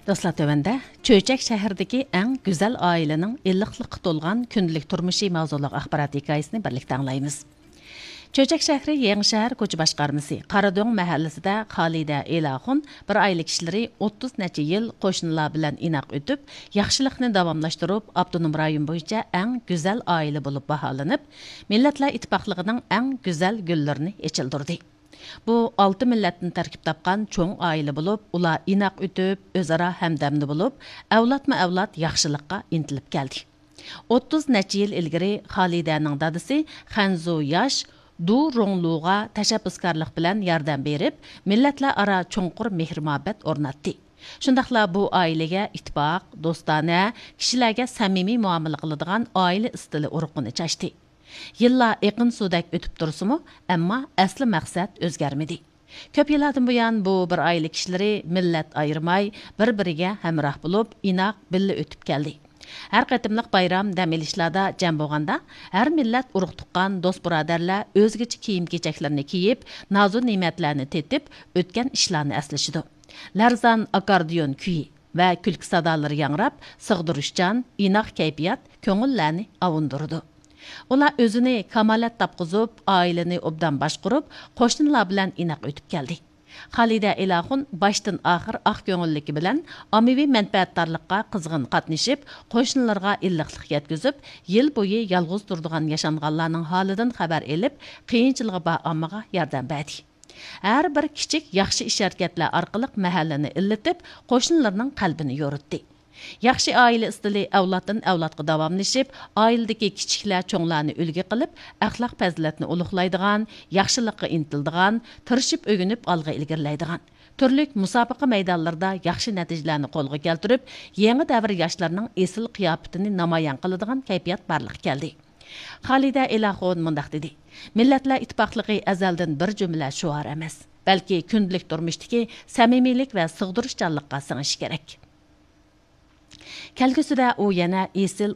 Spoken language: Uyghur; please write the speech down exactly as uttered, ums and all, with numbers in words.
دوستلار، تۆۋەندە چۆچەك شەھىرىدىكى ئەڭ گۈزەل ئائىلىنىڭ ئىللىقلىققا تولغان كۈندىلىك تۇرمۇشى ماۋزۇلۇق ئاخبارات ھېكايىسىنى بىرلىكتە ئاڭلايمىز. چۆچەك شەھىرى يېڭىشەھەر كوچا باشقارمىسى قارادۆڭ مەھەللىسىدە خالىدە ئېلاخۇن بىر ئائىلە كىشىلىرى ئوتتۇز نەچچە يىل قوشنىلار بىلەن ئىناق ئۆتۈپ، ياخشىلىقنى داۋاملاشتۇرۇپ، ئاپتونوم رايون بويىچە ئەڭ گۈزەل ئائىلە بولۇپ باھالىنىپ، مىللەتلەر ئىتتىپاقلىقىنىڭ ئەڭ گۈزەل گۈللىرىنى ئېچىلدۇردى. بۇ ئالتە مىللەتتىن تەركىب تاپقان چوڭ ئائىلە بولۇپ، ئۇلار ئىناق ئۆتۈپ، ئۆزئارا ھەمدەمدە بولۇپ، ئەۋلادمۇ ئەۋلاد ياخشىلىققا ئىنتىلىپ كەلدى. ئوتتۇز نەچچە يىل ئىلگىرى خالىدەنىڭ دادىسى خەنزۇ ياش دۇ روڭلۇغا تەشەببۇسكارلىق بىلەن ياردەم بېرىپ، مىللەتلەر ئارا چوڭقۇر مېھىر-مۇھەببەت ئورناتتى. شۇنداقلا بۇ ئائىلىگە ئىتتىپاق، دوستانە، كىشىلەرگە سەمىمىي مۇئامىلە قىلىدىغان ئائىلە ئىستىلى ئۇرۇقىنى چاچتى. يىللار ئېقىن سۇدەك ئۆتۈپ تۇرسىمۇ، ئەمما ئەسلى مەقسەت ئۆزگەرمىدى. كۆپ يىللاردىن بۇيان بۇ بىر ئائىلە كىشىلىرى مىللەت ئايرىماي، بىر-بىرىگە ھەمراھ بولۇپ، ئىناق بىللە ئۆتۈپ كەلدى. ھەر قېتىملىق بايرام، دەم ئېلىشلاردا جەم بولغاندا، ھەر مىللەت ئۇرۇق-تۇغقان، دوست-بۇرادەرلەر ئۆزگىچە كىيىم-كېچەكلىرىنى كىيىپ، نازۇ-نېمەتلەرنى تېتىپ، ئۆتكەن ئىشلارنى ئەسلىشىدۇ. لەرزان ئاكاردىيون كۈيى ۋە كۈلكە سادالىرى ياڭراپ، سىغدۇرۇشچان، ئىناق كەيپىيات كۆڭۈللەرنى ئاۋۇندۇرىدۇ. ئۇلار ئۆزىنى كامالەت تاپقۇزۇپ، ئائىلىنى ئوبدان باشقۇرۇپ، قوشنىلار بىلەن ئىناق ئۆتۈپ كەلدى. خالىدە ئىلاخۇن باشتىن ئاخىر ئاق كۆڭۈللۈكى بىلەن ئاممىۋى مەنپەئەتدارلىققا قىزغىن قاتنىشىپ، قوشنىلىرىغا ئىللىقلىق يەتكۈزۈپ، يىل بويى يالغۇز تۇرىدىغان ياشانغانلارنىڭ ھالىدىن خەۋەر ئېلىپ، قىيىنچىلىقى بار ئاممىغا ياردەم بەردى. ھەر بىر كىچىك ياخشى ئىش-ھەرىكەتلەر ئارقىلىق مەھەللىنى ئىللىتىپ، قوشنىلىرىنىڭ قەلبىنى يورۇتتى. ياخشى ئائىلە ئىستىلى ئەۋلادتىن ئەۋلادقا داۋاملىشىپ، ئائىلىدىكى كىچىكلەر چوڭلارنى ئۈلگە قىلىپ، ئەخلاق-پەزىلەتنى ئۇلۇغلايدىغان، ياخشىلىققا ئىنتىلىدىغان، تىرىشىپ ئۆگىنىپ ئالغا ئىلگىرىلەيدىغان، تۈرلۈك مۇسابىقە مەيدانلىرىدا ياخشى نەتىجىلەرنى قولغا كەلتۈرۈپ، يېڭى دەۋر ياشلىرىنىڭ ئېسىل قىياپىتىنى نامايان قىلىدىغان كەيپىيات بارلىققا كەلدى. خالىدە ئىلاخۇن مۇنداق دېدى: مىللەتلەر ئىتتىپاقلىقى ئەزەلدىن بىر جۈملە شوئار ئەمەس، بەلكى كۈندىلىك تۇرمۇشتىكى سەمىمىيلىك ۋە سىغدۇرۇشچانلىققا سىڭىشى كېرەك. كەلگۈسىدە ئۇ يەنە ئېسىل